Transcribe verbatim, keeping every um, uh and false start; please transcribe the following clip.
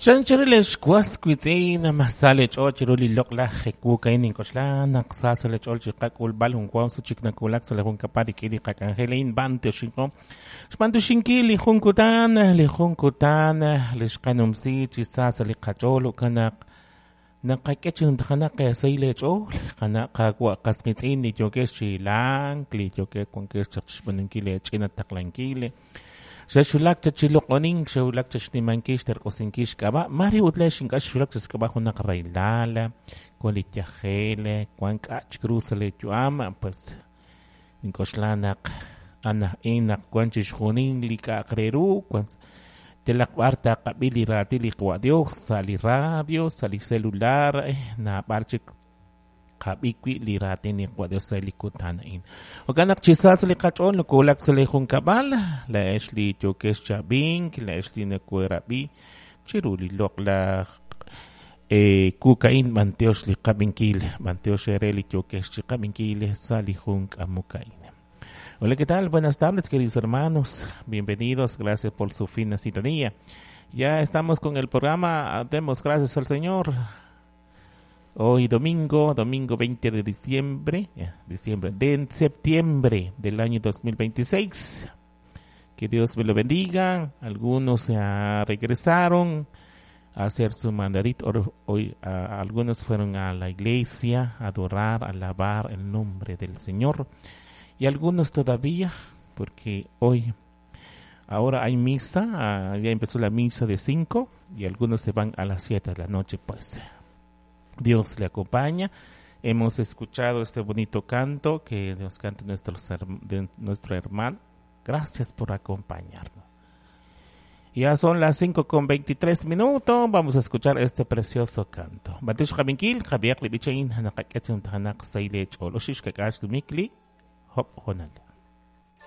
Chancharilex was witz'in masale ch'ool chiru li loq'laj ewuuk a'in nink'oxla naq sa sa' li ch'ool chi qak'ulb'al jun wa sut chik nawulak sa' li junkab'al rik'in li qak'anjel a'in b'antioxinko xb'antioxinkil li jun kutan li jun kutan li xqanumsi chi sa sa' li qach'ool jo'kan naq naqak'e chi numtajenaq sahil eech'ool qana' qaawa' qas qitz'in li yookex chi hilank li yookex wankex chaq xb'aanunkil eech'ina taqlankil xexwulak cha chi loq'onink xewulak cha xnimankil xterq'usinkil xk'ab'a' mare ut leex ink'a' xwulak cha xk'ab'a' junaq rahilal wan li yajel wan k'a' chik ru sa' li yu'am pues nink'oxla naq anaj'in naq wan chixjunil li k'a'aq re ru wan yalaq b'ar taqab'i li raatin li Qawa' Dios sa' li radio sa' li celular naab'al chik qab'i wi' li raatin li Qawa' Dios re li kutan a'in. Jo'kan naq chi sa sa' li qach'ool nokowulak sa' li junkab'al laa'ex li yookex chi ab'ink laa'ex li nokoorab'i chiru li loq'laj kuuk a'in b'antiox li qab'inkil b'antiox eere li yookex chi qab'inkil sa' li jun k'amok a'in. Hola, ¿qué tal? Buenas tardes, queridos hermanos. Bienvenidos, gracias por su fina sintonía. Ya estamos con el programa Demos gracias al Señor. Hoy domingo, domingo veinte de diciembre, eh, diciembre, de septiembre del año dos mil veintiséis. Que Dios me lo bendiga. Algunos ya regresaron a hacer su mandadito. Hoy, a, algunos fueron a la iglesia a adorar, a alabar el nombre del Señor. Y algunos todavía, porque hoy, ahora hay misa, ya empezó la misa de cinco y algunos se van a las siete de la noche, pues. Dios le acompaña. Hemos escuchado este bonito canto que nos canta nuestro, de nuestro hermano. Gracias por acompañarnos. Ya son las cinco con veintitrés minutos. Vamos a escuchar este precioso canto. Batish Jabinkil, Javier Libichain, Hanakaketun Tahanak Saile Choloshishkakash Dumikli, Hop Honal.